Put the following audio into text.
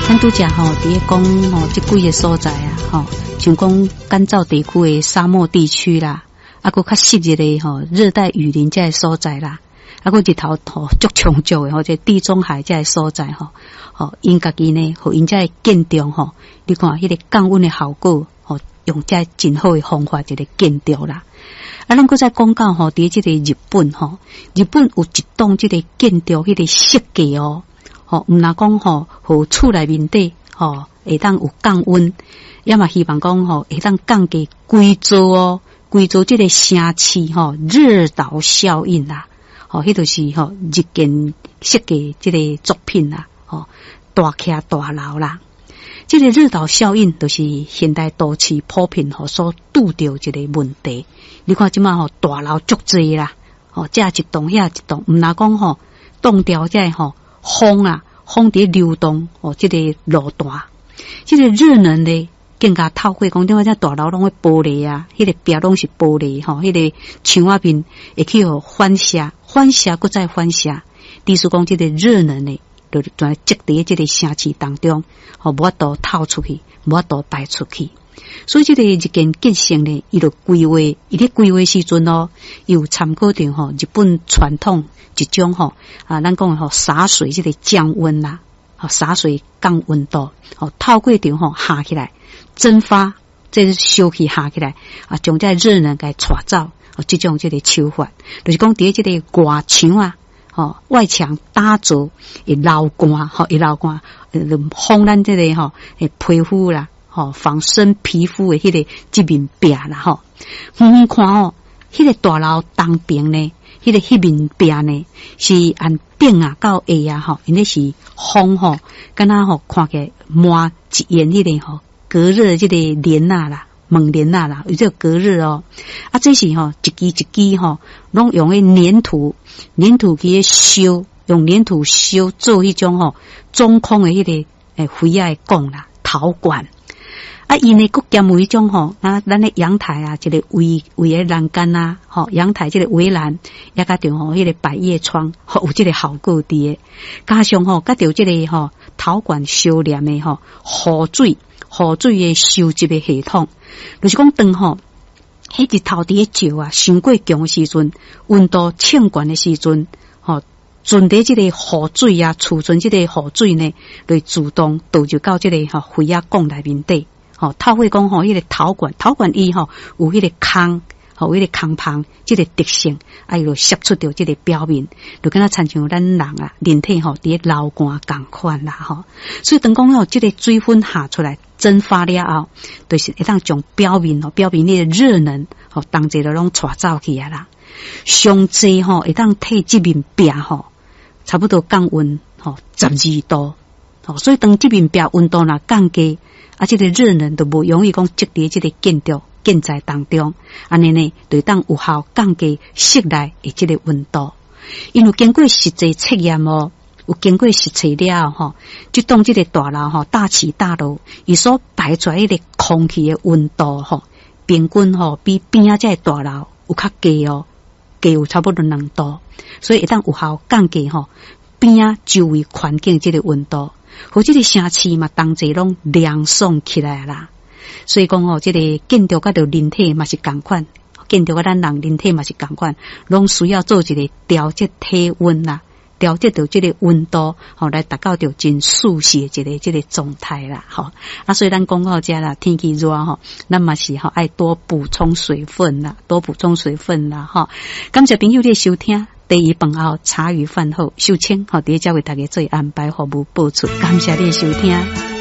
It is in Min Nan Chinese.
咱拄才吼，佇咧講吼，這幾个所在啊，吼，像講乾燥地區的沙漠地區啦，啊，閣較濕熱的吼熱帶雨林這个所在啦，啊，閣日頭吼足充足的吼，這地中海這个所在吼，吼，𪜶家己呢，予𪜶這个建築吼，你看彼个降溫的效果，吼，用這真好的方法一个建築啦。啊，咱閣再講到吼，佇這個日本吼，日本有一棟這個建築彼個設計哦。吼，毋但講吼，予厝內面底吼會當有降溫，也嘛希望講吼會當降低規座哦，規座這個城市吼熱島效應啦，吼，彼就是吼日建設計這个作品啦，吼大徛大樓啦，這個熱島效應就是現代都市普遍吼所拄著一个問題。你看這馬吼大樓足濟啦，吼這一棟遐一棟，毋但講吼擋掉這个吼。風啊，風佇流動哦，這個路段，這個熱能呢，更加透過講，點解這大樓攏會玻璃啊？彼個壁攏是玻璃吼，彼個牆仔面會去予反射，反射閣再反射。意思講，這個熱能呢，就全積佇這個城市當中，吼，無法度透出去，無法度排出去。所以這個日建建成呢，伊就規劃，伊咧規劃時陣哦，伊有參考著吼日本傳統一種吼啊，咱講吼灑水這個降溫啦，吼灑水降溫度，吼透過著吼下起來蒸發，這個燒氣下起來啊，將這個熱能共帶走，哦，這種這個手法，就是講佇這個外牆啊，吼外牆打造會流汗，吼會流汗，防咱這個吼皮膚啦。吼，防身皮膚的彼個這面壁啦，吼，遠遠看哦，彼個大樓東邊呢，彼個彼面壁呢，是按頂啊到下啊，吼，𪜶咧是風吼，敢若吼看起來滿一掩彼個吼隔熱這個簾仔啦，門簾仔啦，有這個隔熱哦。啊，這是吼一支一支吼，攏用彼黏土，黏土去燒，用黏土燒做彼種吼中空的彼個欸圍仔的管啦，陶管。啊，伊呢，閣兼有彼種吼，啊，咱的陽台啊，這個圍圍的欄杆啊，吼，陽台這個圍欄，也佮著吼，彼個百葉窗，吼，有這個效果佇的。加上吼，佮著這個吼陶管相連的吼雨水，雨水的收集的系統，就是講當吼，彼日頭佇咧照啊，傷過強的時陣，溫度衝懸的時陣，吼，存佇這個雨水啊，儲存這個雨水呢，就自動導入到這個吼圍仔管內面底。吼，透過講吼，彼個陶管，陶管伊吼有彼個空，吼有彼個空縫，這個特性，啊，伊就攝出著這個表面，就敢若親像咱人啊，人體吼佇咧流汗仝款啦吼。所以當講吼，這個水分下出來蒸發了後，就是會當將表面吼，表面的熱能吼，同齊就攏帶走去啊啦。上濟吼會當替這面壁吼，差不多降溫吼12度。吼，所以當這面壁溫度若降低。啊，這個熱能就無容易講積佇這個建築建材當中，按呢呢，就會當有效降低室內的這個溫度。因為經過實際測驗哦，有經過實測了後吼，這棟這個大樓吼，大池大樓，伊所排出來的空氣的溫度吼，平均吼比邊仔這個大樓有較低哦，低有差不多2度，所以會當有效降低吼邊仔周圍環境這個溫度。予這個城市嘛，同齊攏涼爽起來啦。所以講吼，這個建築佮著人體嘛是仝款，建築佮咱人人體嘛是仝款，攏需要做一個調節體溫啦，調節著這個溫度，吼來達到著真舒適的一個這個狀態啦。吼啊，所以咱講到這啦，天氣熱吼，咱嘛是吼愛多補充水分啦，多補充水分啦。吼，感謝朋友的收聽。茶餘飯後，茶餘飯後，秀清，好，佇遮為大家做安排服務播出，感謝你的收聽。